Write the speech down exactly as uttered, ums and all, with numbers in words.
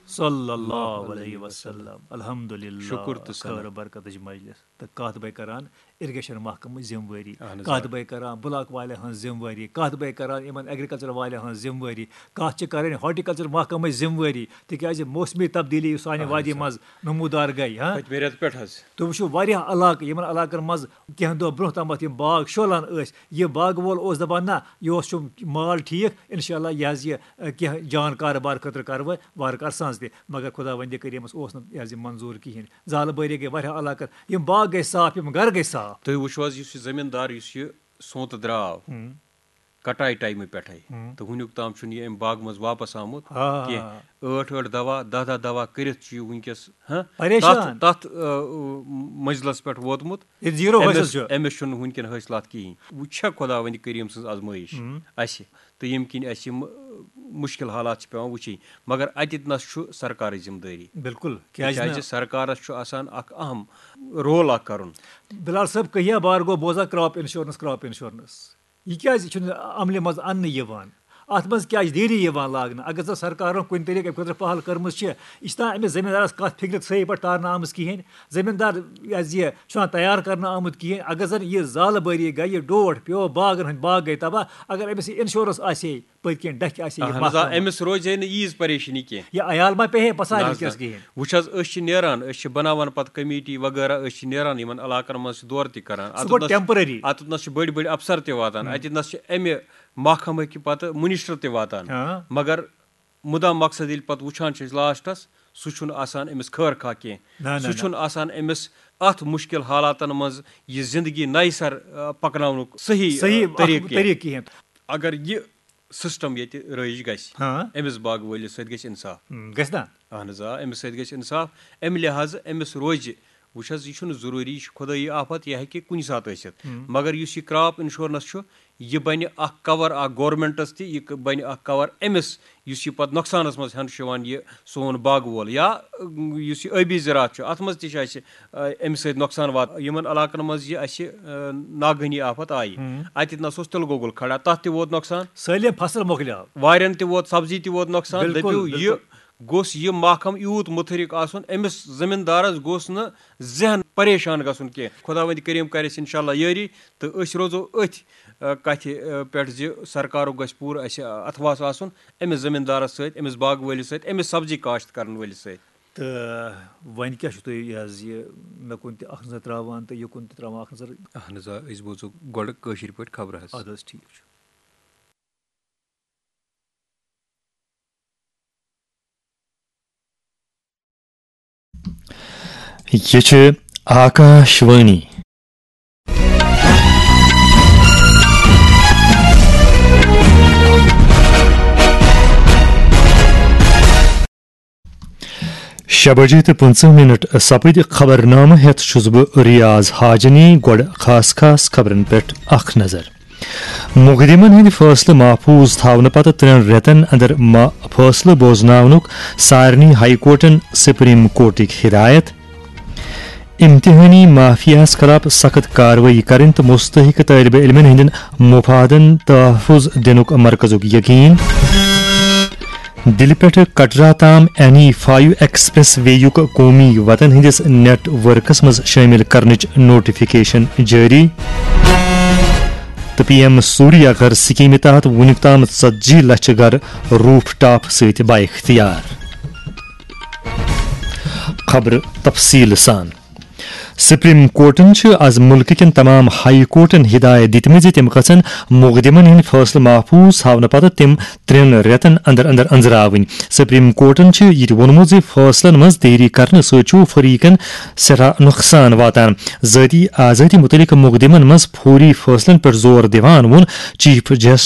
صلی اللہ علیہ وسلم۔ الحمدللہ۔ شکر تہٕ ثنا۔ خٲر و برکتٕچ مجلس۔ تہٕ کتھ بے کران اریگیشن محکمٕچ ذمہٕ وٲری، اہن حظ، کتھ آ۔ بے کران بلاک والٮ۪ن ہٕنٛز ذمہٕ وٲری، کتھ بے کران یِمن ایگریکلچر والٮ۪ن ہٕنٛز ذمہٕ وٲری، کتھ چھِ کرٕنۍ ہارٹیکلچر محکمٕچ ذمہٕ وٲری، تِکیازِ موسمی تبدیلی یُس سانہِ اہن وادی حظ، آ۔ منٛز نمودار گٔے، ہاں؟ پٔتمہِ رٮ۪تہٕ پٮ۪ٹھ حظ۔ تُہۍ وٕچھِو، واریاہ علاقہٕ، یِمن علاقن منٛز کینٛہہ دۄہ برونٛہہ تامَتھ یِم باغ شولان ٲسۍ، یہِ باغہٕ وول اوس دَپان، نہ، یہِ اوس چھُم مال ٹھیٖک، اِنشاء اللہ یہِ حظ یہِ، اَ، کینٛہہ جان کارٕبار خٲطرٕ کَرٕ بہٕ وارٕ کارٕ سَنٛز تہِ۔ مگر خۄداوندِ کریٖمَس اوس نہٕ یہِ حظ یہِ منظوٗر کِہیٖنۍ۔ زالہٕ بٲری گٔے واریاہ علاقَن، یِم باغ گٔے صاف، یِم گَرٕ گٔے صاف۔ تُہۍ وٕچھِو حظ، یُس یہِ زٔمیٖندار، یُس یہِ سونٛتہٕ درٛاو، ہُم۔ کٹایہِ ٹایمہٕ پٮ۪ٹھَے، ہُم۔ تہٕ وٕنیُک تام چھُنہٕ یہِ اَمہِ باغہٕ منٛز واپَس آمُت آ۔ کینٛہہ۔ ٲٹھ ٲٹھ دوا، دَہ دَہ دوا کٔرِتھ چھُ یہِ وٕنکیٚس، ہاں، پریشان۔ تَتھ، تَتھ، آ، منزلَس پٮ۪ٹھ ووتمُت۔ ییٚتہِ زیٖرو حٲصِل أمِس، چھُ۔ أمِس چھُنہٕ وٕنکیٚن حٲصِلات کِہیٖنۍ۔ وۄنۍ چھےٚ خۄداوندِ کریٖم سٕنٛز آزمٲیِش ہُم۔ اَسہِ، تہٕ ییٚمہِ کِنۍ اَسہِ یِم، آ، مُشکِل حالات چھِ پٮ۪وان وٕچھِنۍ۔ مگر اَتٮ۪تھ نَس چھُ سرکارٕچ ذمہٕ دٲری۔ بِلکُل، کیٛازِ نہٕ؟ تِکیٛازِ سرکارَس چھُ آسان اَکھ اہم رول اَکھ کَرُن۔ بِلال صٲب، کٔہیا بار گوٚو بوزان کرٛاپ اِنشورَنس، کرٛاپ اِنشورَنس۔ یہِ کیٛازِ چھُنہٕ عملہِ منٛز اَننہٕ یِوان؟ اَتھ منٛز کیٛازِ دیری یِوان لاگنہٕ؟ اگر زَن سرکارَن کُنہِ طریٖقہٕ اَمہِ خٲطرٕ پہل کٔرمٕژ چھِ، یہِ چھِ تام أمِس زٔمیٖندارَس کَتھ فِکرِ صحیح پٲٹھۍ تارنہٕ آمٕژ کِہیٖنۍ۔ زٔمیٖندار یہِ حظ یہِ چھُنہٕ تیار کَرنہٕ آمُت کِہیٖنۍ۔ اگر زَن یہِ زالہٕ بٲری گٔے، یہِ ڈوٹھ پیوٚو، باغَن ہٕنٛدۍ باغ گٔے تباہ، اگر أمِس یہِ اِنشورَنس آسہِ ہے، پٔتۍ کِنۍ ڈَکھِ آسہِ ہے یہِ اہن حظ، آ، محکمہٕ۔ أمِس روزِ ہے نہٕ ییٖژ پریشٲنی کینٛہہ۔ یہِ عیال ما پیٚیہِ ہے پَسارِ نہ حظ، وٕنکیٚس نہ۔ کِہیٖنۍ۔ وٕچھ حظ، أسۍ چھِ نیران، أسۍ چھِ بَناوان پَتہٕ کمیٹی وغیرہ، أسۍ چھِ نیران یِمَن علاقَن منٛز چھِ دورٕ تہِ کَران۔ سُہ اَتَتھ گوٚو نَس چھِ، temporary۔ اَتَتھ نَس چھِ بٔڑۍ بٔڑۍ اَفسَر تہِ واتان، ہُم۔ اَتہِ نَس چھِ اَمہِ محکمہٕ کہِ پَتہٕ مِنِسٹَر تہِ واتان۔ ہاں۔ مگر مُدا مقصد ییٚلہِ پَتہٕ وٕچھان چھِ أسۍ لاسٹَس، سُہ چھُنہٕ آسان أمِس خٲر خواہ کینٛہہ۔ نہ، نہ، سُہ نہ۔ چھُنہٕ آسان أمِس اَتھ مُشکِل حالاتَن منٛز یہِ زِندگی نَیہِ سَر، آ، پَکناونُک صحیح، آ، صحیح اَکھ طریٖقہٕ کینٛہہ۔ طریٖقہٕ کِہیٖنۍ۔ اگر یہِ سسٹم ییٚتہِ رٲیِج گژھِ، ہاں۔ أمِس باغہٕ وٲلِس سۭتۍ گژھِ اِنصاف۔ ہم، گژھِ نا؟ اہن حظ، آ، أمِس سۭتۍ گژھِ اِنصاف۔ اَمہِ لحاظہٕ أمِس روزِ، وٕچھ حظ، یہِ چھُنہٕ ضروٗری، یہِ چھُ خۄدٲیی آفت، یہِ ہیٚکہِ کُنہِ ساتہٕ ٲسِتھ۔ ہم۔ مگر یُس یہِ کرٛاپ اِنشورنس چھُ، یہِ بَنہِ اکھ کور اکھ گورمنٹس تہِ، یہِ ک-، بَنہِ اکھ کور أمِس، یُس یہِ پتہٕ نۄقصانس منٛز ہٮ۪نہٕ چھُ یِوان، یہِ سون باغہٕ وول یا، اۭں، یُس یہِ ٲبی زِراعت چھُ، اَتھ منٛز تہِ چھُ اَسہِ، آ، اَمہِ سۭتۍ نۄقصان واتان۔ یِمن علاقن منٛز یہِ اَسہِ، آ، ناگہٲنی آفت آیہِ، ہم۔ اَتہِ نہ سا اوس تِلہٕ گۄگُل کھڑا، تَتھ تہِ ووت نۄقصان۔ سٲلِم فصل مۄکلیو۔ واریاہن تہِ ووت، سبزی تہِ ووت نۄقصان۔ بِلکُل، دٔپِو، یہِ بِلکُل۔ گوٚژھ یہِ محکمہٕ یوٗت مُتحرِک آسُن، أمِس زٔمیٖندارَس گوٚژھ نہٕ ذہن پریشان گژھُن کینٛہہ۔ خۄداوندِ کریٖم کَرِ اَسہِ اِنشاء اللہ یٲری، تہٕ أسۍ روزو أتھۍ، آ، کَتھِ، آ، پٮ۪ٹھ زِ سرکارُک گژھِ پوٗرٕ اَسہِ، آ، اَتھواس آسُن أمِس زٔمیٖندارَس سۭتۍ، أمِس باغہٕ وٲلِس سۭتۍ، أمِس سبزی کاشت کَرَن وٲلِس سۭتۍ۔ تہٕ وۄنۍ کیٛاہ چھُو تُہۍ یہِ حظ یہِ مےٚ کُن تہِ اَکھ نظر ترٛاوان تہٕ یہِ کُن تہِ ترٛاوان اَکھ نظر؟ اہن حظ، آ، أسۍ بوزو گۄڈٕ کٲشِر پٲٹھۍ خبرٕ حظ۔ اَدٕ حظ، ٹھیٖک چھُ۔ یہِ چھِ آکاش وانی۔ شےٚ بجے تہٕ پٕنٛژٕہ منٹ سپٕدۍ۔ خبرنامہٕ ہٮ۪تھ چھُس بہٕ ریاض حاجنی۔ گۄڈٕ خاص خاص خبرن پٮ۪ٹھ اکھ نظر۔ مقدمن ہٕنٛدۍ فٲصلہٕ محفوظ تھاونہٕ پتہٕ ترٛٮ۪ن رٮ۪تن اندر ما-، فٲصلہٕ بوزناونُک سارنٕے ہائی کورٹن سپریم کورٹٕکۍ ہدایت۔ امتحٲنی مافیاہس خلاف سخت کاروٲیی کرٕنۍ تہٕ مستحق طٲلبہِ علمن ہٕنٛدٮ۪ن مفادن تحفظ دِنُک مرکزُک یقین۔ دِلہِ پٮ۪ٹھٕ کٹرا تام این ای فایو ایکسپریس وے یُک قومی وطن ہٕنٛدِس نیٹ ورکس منٛز شٲمِل کرنٕچ نوٹیفکیشن جٲری۔ تہٕ پی ایم سوریہ گھر سکیمہِ تحت وُنیُک تام ژتجی لچھ گھر روف ٹاپ سۭتۍ بااختیار۔ خبرٕ تفصیٖل سان۔ سپریم کورٹن چھِ از مُلکہٕ کٮ۪ن تمام ہائی کورٹن ہدایت دِتمٕژ زِ تِم گژھن مقدمن ہٕنٛدۍ فٲصلہٕ محفوظ تھاونہٕ پتہٕ تِم ترٛٮ۪ن رٮ۪تن اندر اندر أنٛزراوٕنۍ۔ سپریم کورٹن چھُ یہِ تہِ ووٚنمُت زِ فٲصلن منٛز دیری کرنہٕ سۭتۍ چھُ فریقن سٮ۪ٹھاہ نۄقصان واتان۔ ذٲتی آزٲدی مُتعلق مقدمن منٛز فوری فٲصلن پٮ۪ٹھ زور دِوان ووٚن چیف جسٹس